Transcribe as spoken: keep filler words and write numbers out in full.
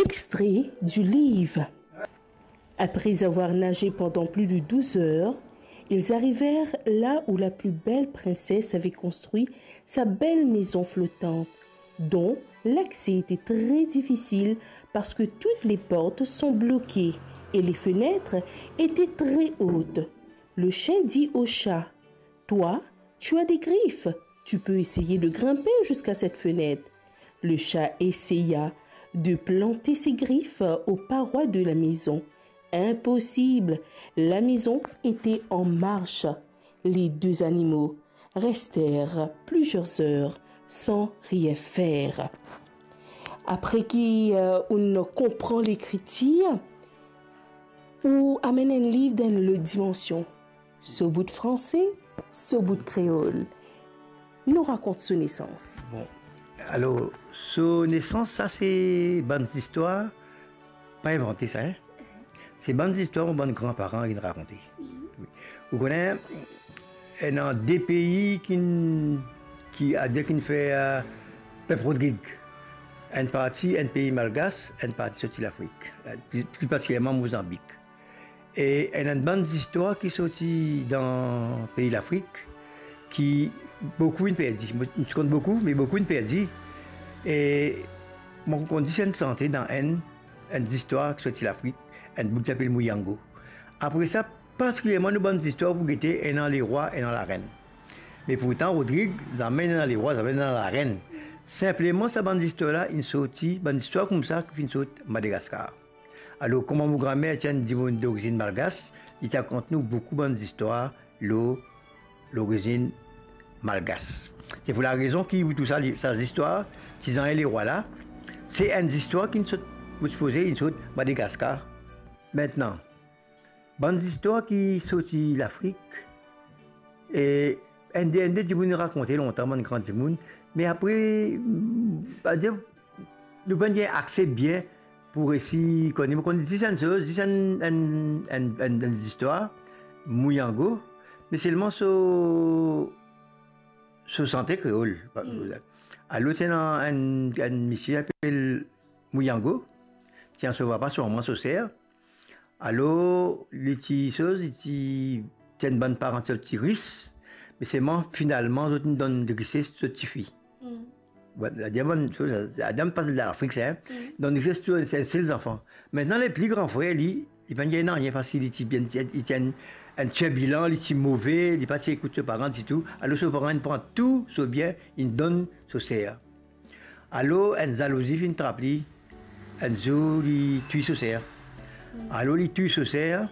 Extrait du livre. Après avoir nagé pendant plus de douze heures, ils arrivèrent là où la plus belle princesse avait construit sa belle maison flottante, dont l'accès était très difficile parce que toutes les portes sont bloquées et les fenêtres étaient très hautes. Le chien dit au chat : « Toi, tu as des griffes, tu peux essayer de grimper jusqu'à cette fenêtre. » Le chat essaya de planter ses griffes aux parois de la maison. Impossible, la maison était en marche. Les deux animaux restèrent plusieurs heures sans rien faire. Apre ki, euh, ou konpran lekritir, ou amenn enn liv dan lot dimansion. So bout franse, so bout kreol. Nou rakont so nesans. Bon. Alor, so nesans, sa se bann zistwar, pa invante sa, hein. Se bann zistwar mo bann granparan inn rakonte. Wi. Ou kone, ena de pei ki, ki, adir ki fer, euh, pep Rodrig. Enn parti, enn pei malgas, enn parti sorti Lafrik, euh, pli, pli partikilierman Mozanbik. E ena enn bann zistwar ki sorti dan pei Lafrik, ki boukou inn perdi. Mo, mo ti konn boukou, me boukou inn perdi. E mo konn zis enn sante dan enn, enn zistwar ki sorti Lafrik, enn boug ki apel Mouyango. Apre sa, partikilierman nou bann zistwar pou gete ena lerwa, ena larenn. Me pourtan, Rodrig, zame ena lerwa, zame ena larenn. Sinpleman, sa bann zistwar la, inn sorti, bann zistwar koumsa ki finn sort Madagaskar. Alor, kouma mo granmer ti enn dimoun dorizinn malgas, li ti rakont nou boukou bann zistwar lor lorizinn malgas. Se pou larezon ki, wi, tou sa, li, sa zistwar, Tizan e Lerwa la, se enn zistwar ki sort, pou sipoze, inn sort Madagaskar. Aster, bann zistwar ki sorti Lafrik, e enn de, enn de dimoun rakonte lontan, bann gran dimoun, me apre, mm, adir, nou pa gagn akse bien pou resi kone. Mo konn zis enn soz, zis enn, enn, enn, enn, enn zistwar, Mouyango, me selman so, so sante kreol. Mm. Alor, ti ena enn, enn misie apel Mouyango, ti ena so papa, so mama, so ser. Alor, li ti soz, li ti, ti enn bann paran ti ris, me selman finalman zot inn donn rises zot tifi. Mm. Bon, la dimann, la dimann pa Lafrik sa, hein. Mm. Donn rises tou, se, se zanfan. Aster, le pli gran frer, li, li pa gagn nanye, parski li ti bien, li ti enn, enn tirbilan, li ti move, li pa ti ekout so paran ditou. Alor, so paran inn pran tou so bien, inn donn so ser. Alor, enn zalouzi finn trap li, enn zour, li tiye so ser. Alor, li tiye so ser,